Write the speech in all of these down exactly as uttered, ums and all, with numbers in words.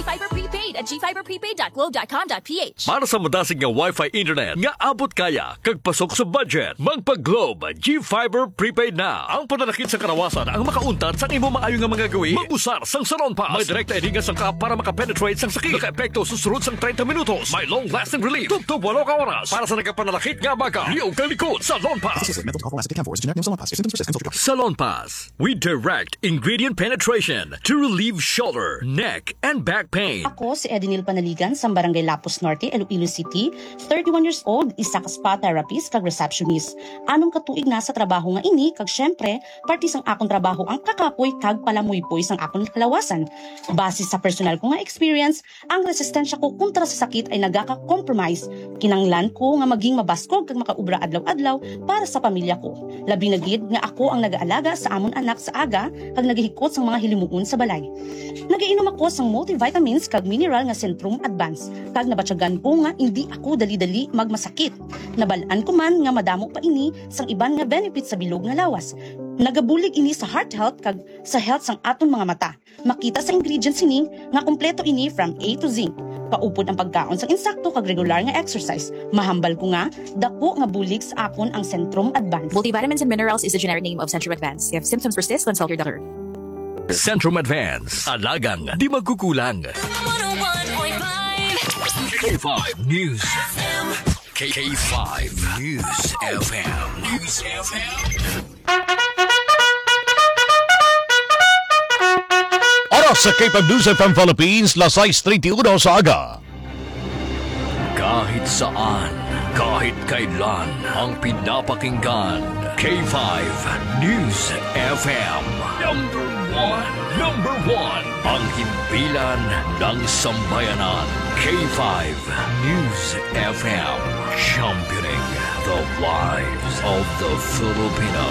Fiber Prepaid at g fiber prepaid dot globe dot com dot p h. Para sa madasig nga Wi-Fi internet nga abot kaya kag pasok sa budget, magpa-Globe G Fiber Prepaid na. Ang pananakit sa karawasan ang makauntat sang imo maayo nga mga gawi. Mag-usar sang Salon Pass. May direkta ini nga sangkap para maka-penetrate sang sakit. Naka-epekto susunod sang treinta minutos. May long-lasting relief. Tubtob walo ka oras. Para sa nagapananakit nga baga, liog kag likod. Salon Pass. This is mental health as a camphor is generic name Salon Pass. If symptoms persist, consult your doctor. Salon Pass. We direct ingredient penetration to relieve shoulder, neck, and back pain. Ako si Edinil Panaligan sa Barangay Lapus Norte, Iloilo City, thirty-one years old, isa ka spa therapist kag receptionist. Anom ka tuig na sa trabaho nga ini kag syempre, parte sang akon trabaho ang kakapoy kag palamuypoy sang akon kalawasan. Base sa personal ko nga experience, ang resistensya ko kontra sa sakit ay nagaka-compromise. Kinanglan ko nga maging mabaskog kag makaobra adlaw-adlaw para sa pamilya ko. Labi na gid nga ako ang nagaalaga sa amon anak sa aga kag nagahikot sang mga hilimuon sa balay. Nagainom ako sang multivitamins kag mineral nga Centrum Advance, kag nabatyagan ko nga indi ako dali-dali magmasakit. Nabal-an ko man nga madamo pa ini sang iban nga benefits sa bilog nga lawas. Nagabulig ini sa heart health kag sa health sang aton mga mata. Makita sa ingredients sini nga kompleto ini from A to Z. Paupod ang pagkaon sang insakto kag regular nga exercise. Mahambal ko nga dako nga bulig sa akon ang Centrum Advance. Multivitamins and minerals is the generic name of Centrum Advance. If symptoms persist, consult your doctor. Centrum Advance. Alagang di magkukulang. One oh one point five K five News. K five News F M. News F M. Oras sa K five News F M Philippines, las sais treinta y uno sa aga. Kahit saan, kahit kailan, ang pinapakinggan, K five News F M. Number one, number one, ang himpilan ng sambayanan, K five News F M, championing the lives of the Filipino.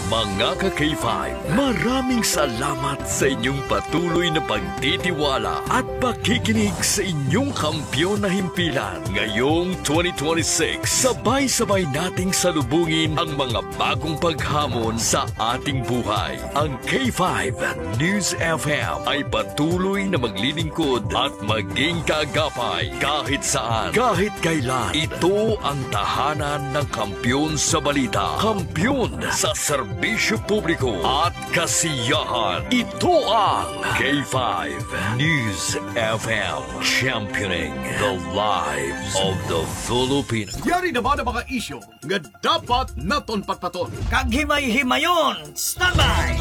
Mga ka-K five, maraming salamat sa inyong patuloy na pagtitiwala at pakikinig sa inyong kampiyon na himpilan. Ngayong twenty twenty-six, sabay-sabay nating salubungin ang mga bagong paghamon sa ating buhay. Ang K five News F M ay patuloy na maglilingkod at maging kaagapay kahit saan, kahit kailan. Ito ang tahanan ng kampiyon sa balita, kampiyon sa serbisyo publiko at kasiyahan. Ito ang K five News F M, championing the lives of the Filipino. Yari na ba ang mga isyu nga dapat naton patpaton? Kag himay-himayon, standby!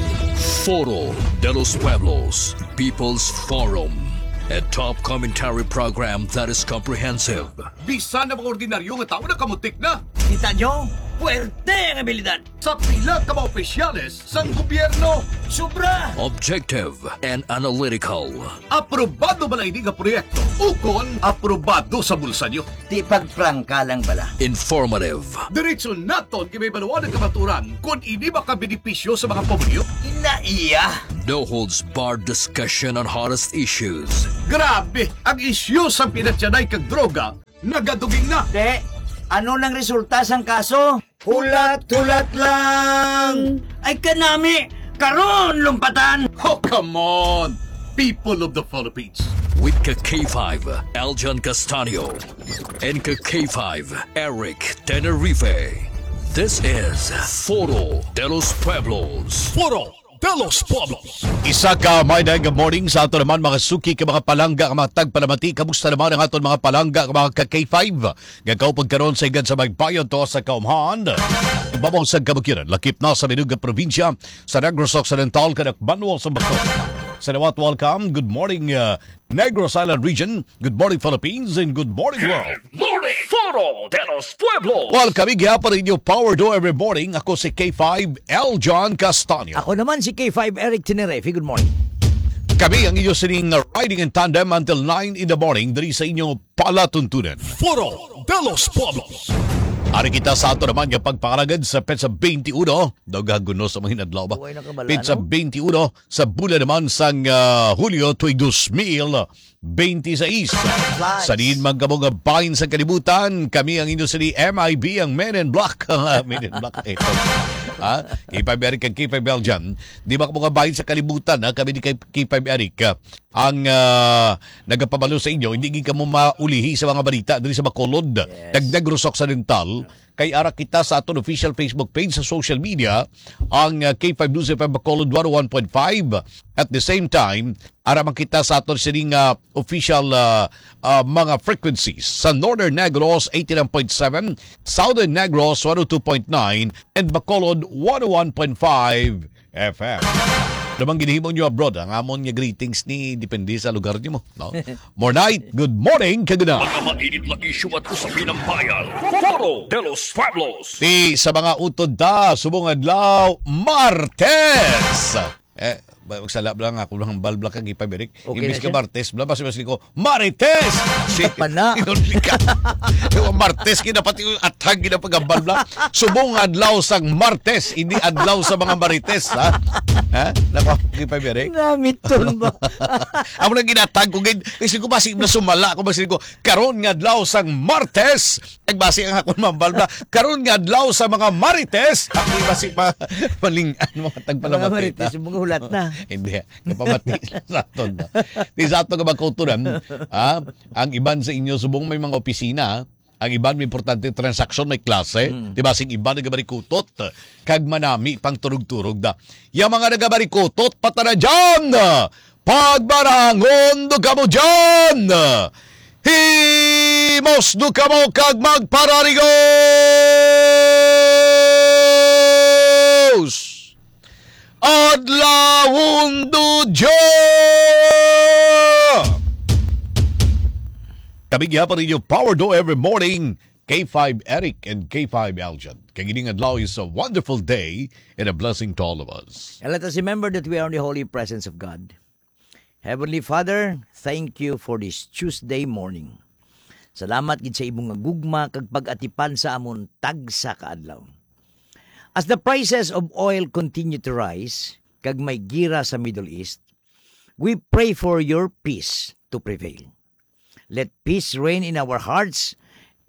Foro de los Pueblos, People's Forum, a top commentary program that is comprehensive. Bisan ang mga ordinaryo nga tawo nakamutik na. Kita nyo? Puwerte ang abilidad. Sa pila ka mga opisyales sang gobyerno. Sobra! Objective and analytical. Aprobado ba lang ini nga proyekto? Ukon aprobado sa bulsa nyo? Di pagprangka lang bala. Informative. Diretso naton kay may baluan ang kamaturan kung ini makabenepisyo sa mga pamilyo. Ina iya. No holds barred discussion on hottest issues. Grabe, ang isyu sa pinatyanay kag droga nagaduging na. Te, ano nang resulta sang kaso? Hulat-hulat lang. Ay kanami, karon lumpatan. Oh, come on, people of the Philippines. With ka K five, Aljan Castanio, and ka K five, Eric Tenerife. This is Foro de los Pueblos. Foro de los Pueblos. Isa ka maayong morning sa ato naman, mga suki, ka mga palangga, ka mga tagpalamati. Kamusta naman ang aton mga palangga, ka mga ka K five? Nga kaupod karon sa higad sa Magbayon to sa Kaumhan. Babaw sa Kabukidnon, lakip na sa Minug nga probinsya, sa Negros Occidental, kanak Manuel sa Bato. Salawat, welcome. Good morning, uh, Negros Island Region. Good morning, Philippines, and good morning, world. Morning, Foro de los Pueblos. Well, kami gihapon inyo Power Do every morning. Ako si K five, L John Castaño. Ako naman si K five, Eric Tenerife. Good morning. Kami ang inyo sining riding in tandem until nine in the morning diri sa inyo palatuntunan. Foro de los Pueblos. Ari kita sa ato naman nga pagpangalagad sa petsa twenty-uno. Daw gaguno sa mga inadlaw ba? Buhay na kabala, Petsa no? twenty-uno sa bulan naman sang, ah, Hulyo tuig dos mil benti sais. Flies. Sa diin man kamo nga bahin sa kalibutan, kami ang inyo sini M I B, ang Men in Black. Men in Black, ito. Ha? K five Eric kag K five Belgian. Di ba, mga bahin sa kalibutan, ha? Kami ni K-, K five Eric, ha? Ang, ah, nagapabalo sa inyo, hindi gid kamo maulihi sa mga balita diri sa Bacolod, Yes. kag Negros Occidental. Kay ara kita sa aton official Facebook page sa social media, ang, ah, K five News F M Bacolod one oh one point five. At the same time, ara man kita sa aton sining, ah, official, ah, ah, mga frequencies sa Northern Negros eighty-nine point seven, Southern Negros one oh two point nine, and Bacolod one oh one point five F M. Namang ginhimo nyo abroad, ang amon nga greetings ni depende sa lugar nyo mo, no? More night, good morning, kaguna. Mga mainit na isyu at usapin ng bayan. Foro de los Pueblos. Ti sa mga utod ta, subong adlaw, Martes. Eh, ba-, magsala lang ako ng balbla kag ipabirik. Okay Imbis na ka siya. Martes, bla, basi mas ko, Marites! Si Pana. Inon ka. Yung Martes, kinapati yung athag, kinapagambal, bla. Subong adlaw sang Martes, hindi adlaw sa mga Marites, ha? Ha? Nako, ipabirik. Namiton ba? Ako lang ginatag ko, gid. Kasi ko, basi na sumala ako, basi ko, karon nga adlaw sang Martes, nagbasi ang akon mambal na, karon nga adlaw sa mga Marites, ako basi pa, maling-an, mga Ang mga tagpalamatay Marites, na. Yung mga hulat na. Hindi, napamati sa aton. Di sa ato nga magkutunan, ha? Ang iban sa inyo, subong may mga opisina, ang iban may importante transaksyon, may klase, Mm. di ba? Sing iban nagabarikutot, kag manami pang turog-turog da. Yang mga nagabarikutot, patara dyan! Pagbarangon do kamo dyan! Himos do kamo kag magpararigos! Adlawon do Dios! Kami gihapon ninyo, Power Do every morning, K five Eric and K five Aljan. Kag ining adlaw is a wonderful day and a blessing to all of us. And let us remember that we are in the holy presence of God. Heavenly Father, thank you for this Tuesday morning. Salamat gid sa imong nga gugma kag pag-atipan sa amon tagsa ka adlaw. As the prices of oil continue to rise, kag may gira sa Middle East, we pray for your peace to prevail. Let peace reign in our hearts,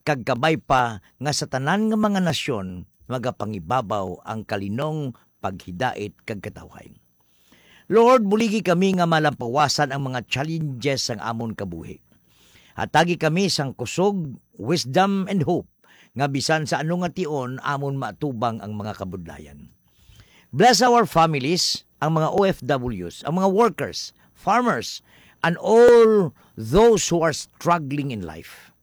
kag kabay pa nga sa tanan nga mga nasyon magapangibabaw ang kalinong paghidait kag katawhay. Lord, buligi kami nga malampawasan ang mga challenges sang amon kabuhi. Hatagi kami sang kusog, wisdom, and hope nga bisan sa ano nga tion amon maatubang ang mga kabudlayan. Bless our families, ang mga O F Ws, ang mga workers, farmers, and all those who are struggling in life.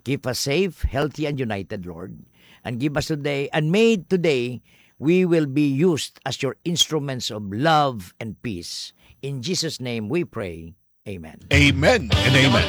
Keep us safe, healthy, and united, Lord. And give us today, and may today we will be used as your instruments of love and peace. In Jesus' name we pray. Amen. Amen and amen.